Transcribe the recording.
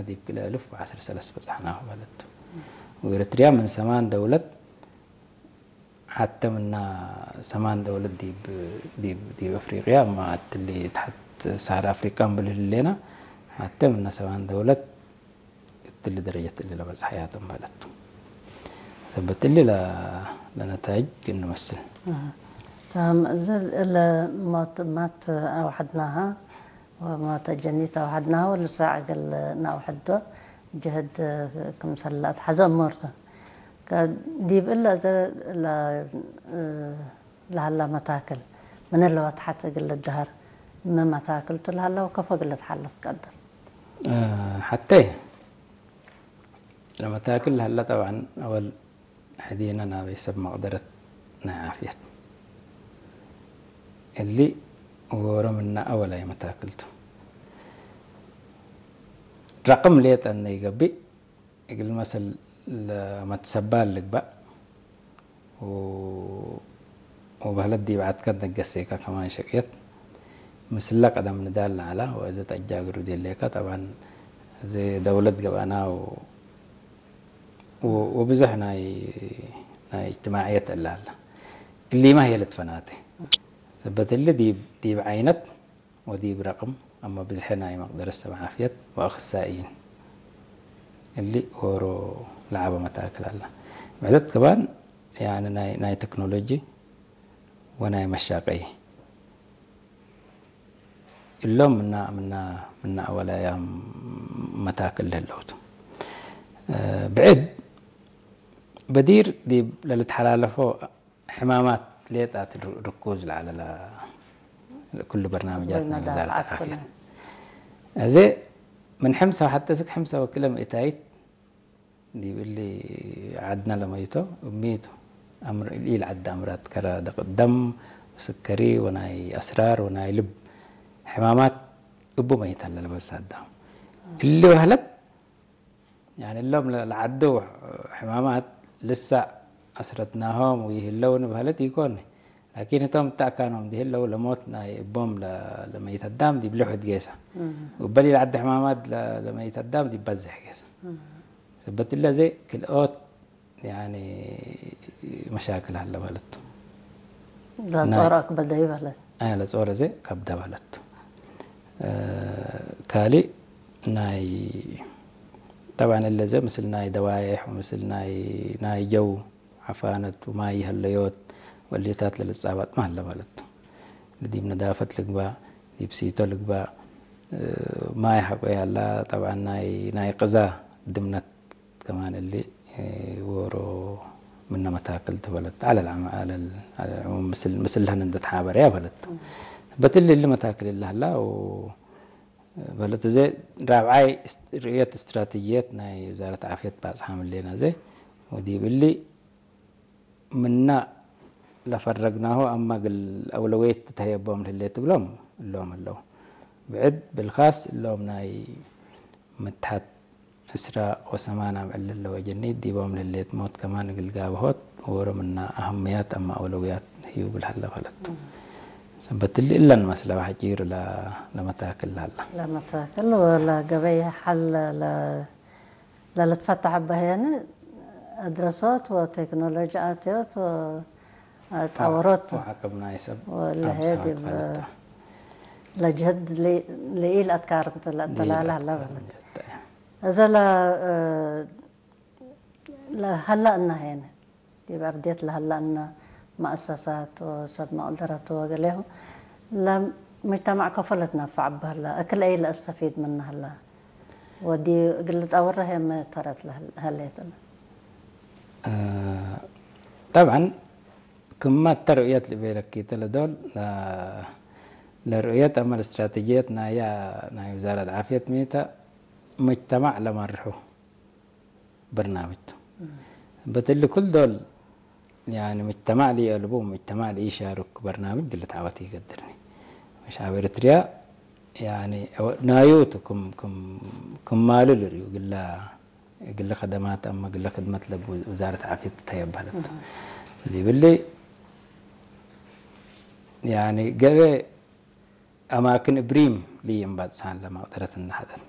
ዲብ ክልተ ኣልፍ ዓሰርተ ሰለስተ በጻሕና ማለት እዩ። ወኤረትርያ ምን ሰማን ደውለት ሓተ ምና ሰማን ደውለት ዲብ፣ ዲብ፣ ዲብ ኣፍሪቅያ፣ እማ እትሊ ትሓት ሳህራ ኣፍሪቃ እንብል ህሌና፣ ሓተ ምና ሰማን ደውለት እትሊ ደረጀት እሊ ለበጽሐያቶም ማለት እዩ። ሰበት እሊ ለ-፣ ለነታይጅ እንመስል። تمام. እለ ሞት ማት ኣውሐድናሃ ወሞት ጀኒት ኣውሐድናሃ ወልሳዕ እግል ናውሐዶ ጅህድ ክምሰል ለኣትሐዘ እሞርቱ። ከ-፣ ዲብ እለ እዘ ለ-፣ ለሀላ መታክል ምን እለ ወትሐት እግል ልድሀር፣ እመ መታክልቱ ለሀላ ወከፎ እግል ልትሓለፍ ቀድር። እ፣ ሐቴ ለመታክል ለሀላ ጠብዓን ኣወል ሕዲነ ናበይ ሰብ መቅደረት ናይ ዓፍየት እሊ ወሮ ምና ኣወላይ መታክልቱ ረቅም ሌጠ እነ ይገብእ እግል መሰል ለመትሰባል ልግባእ ው-፣ ወበህለት ዲብ ዓድከ ደገሴካ ከማን ሸቅየት ምስለ ቀደም ንዳል ለዐላ ወእዘ ተጃግሩ ዴሌካ ጠብዓን እዚ ደውለት ገብአና ው-፣ ው-፣ ወብዙሕ ናይ፣ ናይ እጅትማዕየት እለ ሀላ። እሊማ ህየ ልትፈናተ። ሰበት እሊ ዲብ፣ ዲብ ዓይነት ወዲብ ረቅም፣ ኣመ ብዝሒ ናይ መቅደረት ሰብ ዓፍየት ወአኽሳኢይን እሊ ዎሮ ለዓበ መታክል አላ። ብዕደት ከማን ያኒ ናይ፣ ናይ ቴክኖሎጂ ወናይ መሻቀይ እሎም ምና፣ ምና፣ ምና አወላያም መታክል ለህለውቱ። እ፣ ብዕድ በዲር ዲብ ለልትሓላለፎ ሕማማት ሌጣት ር-፣ ርኩዝ ለዓለ ለ-፣ ኩሉ በርናምጃት ናይ መዳፍዓት ወዛረት ዓፍየት። እዚ ምን ሕምሳ ሐተ እስክ ሕምሳ ወክለ ምእታይት ዲብ እሊ ዓድና ለመይቶ እሚቱ አምር ኢል ዓድ አምራት ከረ ደቅ ደም ወስከሪ ወናይ አስራር ወናይ ልብ ሕማማት እቡ መይት አለ ለበሳዳ። እሊ በህለት ያኒ እሎም ለ-፣ ለዓዱ ሕማማት ልሳዕ አስረትናሆም ወይህለው ንበህለት ኢኮን። ላኪን እቶም እታእካኖም ዲህለው ለሞት ናይ እቦም ለ-፣ ለመይት አዳም ዲብ ልሑድ ጌሳ። እም። ወበሊ ለዓዲ ሕማማት ለ-፣ ለመይት አዳም ዲብ በዝሕ ጌሳ። እም። ሰበት እለ ዘይ ክልኦት ያኒ መሻክል አለ በለቱ። ለጾረ ናይ አክበደ ይበለት። አይ፣ ለጾረ ዘ ከብደ በለቱ። እ፣ ካሊ ናይ፣ ጠብዓን እለ ዘ ምስል ናይ ደዋየሕ፣ ምስል ናይ፣ ናይ ጀው ዓፋነት፣ ማይ ይሀለዮት፣ ወሊታት ለልጻባጥ ማህለ በለቱ። ዲብ ነዳፈት ልግባእ፣ ዲብ ሲቶ ልግባእ፣ እ፣ ማይ ሐቆ ያላ፣ ጠብዓን ናይ፣ ናይ ቅዛ ድምነት ከማን እሊ፣ እ፣ ዎሮ ምነ መታክል ተበለት። አለል ዓመ-፣ አለል፣ አለል ዓመ ምስል፣ ምስልህን እንደ ተሓበረ ያ በለት። በትል እሊ መታክል እላህላ፣ ው-፣ በለት እዘ ራብዓይ እስ-፣ ርእየት እስትራቴጂየት ናይ ውዛረት ዓፍየት ባጽሓ ምሌና እዘ፣ ወዲብ እሊ ምና ለፈረግናሁ አማ እግል አውለውየት ትትሀየቦም ለህሌት እግሎም እሎም ህለው። ብዕድ ብልካስ እሎም ናይ ምትሐት ዕስራ ወሰማን አምዕል ለለወ ጀኒት ዲቦም ለህሌት ሞት ከማን እግል ጋብሆት ዎሮ ምና አህምያት አማ አውለውያት ህዩ እግል ሀለ ፈለቱ። ሰበት እሊ እለን መስለ ሐጪር ለ-፣ ለመታክል ለሀላ። ለመታክል ወለ ገበይ ሐል ለ-፣ ለልትፈታሕ በህየኒ አድረሶት ወቴክኖሎጂ አትዮት ወ-፣ አ፣ ጣወሮት ወዓቅም ናይ ሰብ ወለሄ አምሳት ዲብ ፈለታ። ለጅህድ ሊ-፣ ልኢል አትካርምቱ ለአተላለ ለኢል ሀላ አትካርምቱ በለት። ለአተላለ። እዘ ለ-፣ እ፣ ለሀላ እና ሄነ ዲብ አርድየት ለሀላ እና መአሰሳት ወሰብ መቅደረት ወገሌሁ ለሙጅተማዕ ከፎ ለትነፈዕ በህላ እክል አይ ለአስተፊድ ምነ ሀላ ወዲ እግል ልጠውረ ሄመ ተረት ለህል-፣ ሀሌትነ። እ፣ ጠብዓን ክመ እተ ርእየት ልቤለኪ እተ ለዶል ለ-፣ ለርእየት አመ ለእስትራቴጂየት ናያ ናይ ውዛረት ዓፍየት ሚተ ሙጅተማዕ ለመርሑ በርናምጅ ቱ። እም። በትሊ ኩል ዶል ያኒ ሙጅተማዕ ለኢአልቡ፣ ሙጅተማዕ ለኢሻርኩ በርናምጅ ድለ ተዓወት ይገድርኒ። ሸዓብ ኤረትርያ ያኒ ናዩ ቱ ክም፣ ክም፣ ክም ማሉ ልርእዩ ግላ እግለ ከደማት አመ እግለ ክድመት ለቡ ውዛረት ዓፍየት ተየበለት። እህ። ዲብሊ፣ ያኒ ገለ አማክን እብሪም ልይም ባጽሳን ለመቅደረት እናሐደር።